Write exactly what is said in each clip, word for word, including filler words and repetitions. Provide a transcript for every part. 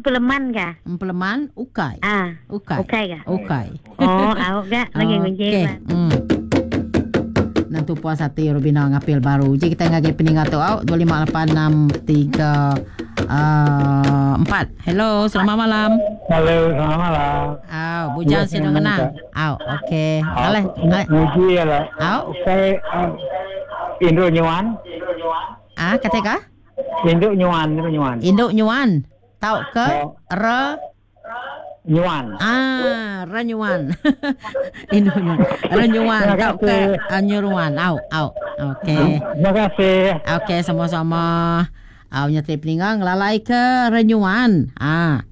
empeleman ka? Empeleman ukai. Ah. Ukai. Ukai ka? Ukai. Oh, au ga lagi ngunci. Okey. Hmm. Nentu puas ati Rubina ngapil baru. Uji kita ngagai peninga tu au dua lima lapan enam tiga uh, empat. Hello, selamat malam. Halo, selamat malam. Au, bujang sinu ngenang. Au, okey. Aleh, aleh. Nguji lah. Au. Ukai Induk nyuan. Ah, kata ka? Induk nyuan, induk nyuan. Induk nyuan. Tau ke re nyuan. Ah, re nyuan. Induk nyuan. Re nyuan tau ke nyuruan. Au, au. Okey. Terima kasih. Okey, sama-sama. Au nyati peninga ngelalai ke renyuan. Ah.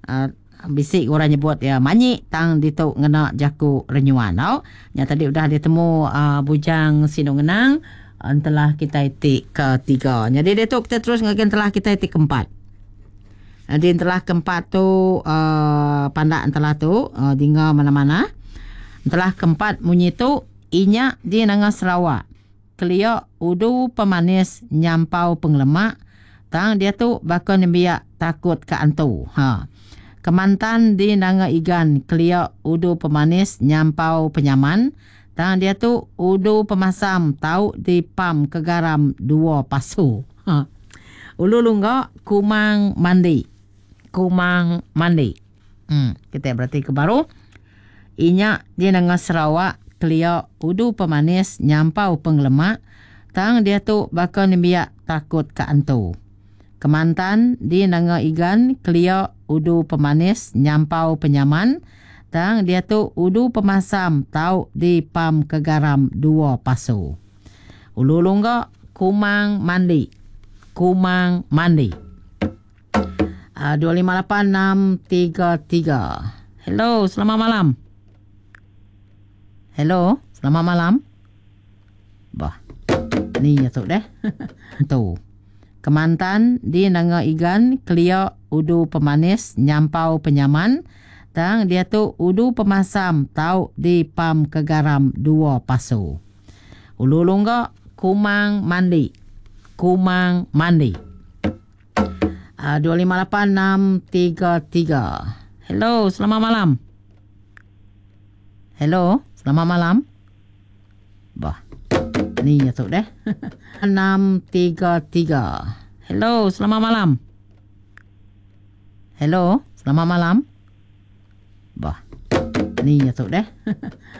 Ah, bisik orang nyebut ya manyi tang ditu ngena jaku renyuan. Au. Nya tadi udah ditemu uh, bujang sinu ngenang entelah kita ti ketiga. Jadi dia tu kita terus ngagen telah kita ti keempat. Jadi entelah keempat tu uh, pandak entelah tu uh, dinga mana-mana. Entelah keempat munyi tu inyak di nanga Sarawak. Kelia udu pemanis nyampau penglemak tang dia tu bakal nembiak takut ke antu. Ha. Kemantan di nanga Igan kelia udu pemanis nyampau penyaman tang dia tu udu pemasam tau di pam ke garam dua pasu. Ha. Ulu lungga kumang mandi. Kumang mandi. Hmm, kita berarti ke baru. Inyak di nanga Sarawak kelia udu pemanis nyampau penglemak tang dia tu bakal nembiak takut ke antu. Kemantan di nanga Igan kelia udu pemanis nyampau penyaman tang dia tu udu pemasam tau di pam ke garam dua pasu. Ulu lungga kumang mandi. Kumang mandi. Uh, dua lima lapan enam tiga tiga. Hello, selamat malam. Hello, selamat malam. Bah. Ni ya tu deh. Tu. Kemantan di nanga Igan kelia udu pemanis nyampau penyaman tang dia tu udu pemasam tau di pam ke garam dua pasu. Ulu lungga kumang mandi. Kumang mandi. Uh, dua lima lapan enam tiga tiga. Hello, selamat malam. Hello, selamat malam. Bah. Ni ya tu deh. Enam tiga tiga. Hello, selamat malam. Hello, selamat malam. Bah. Ni ya tu deh.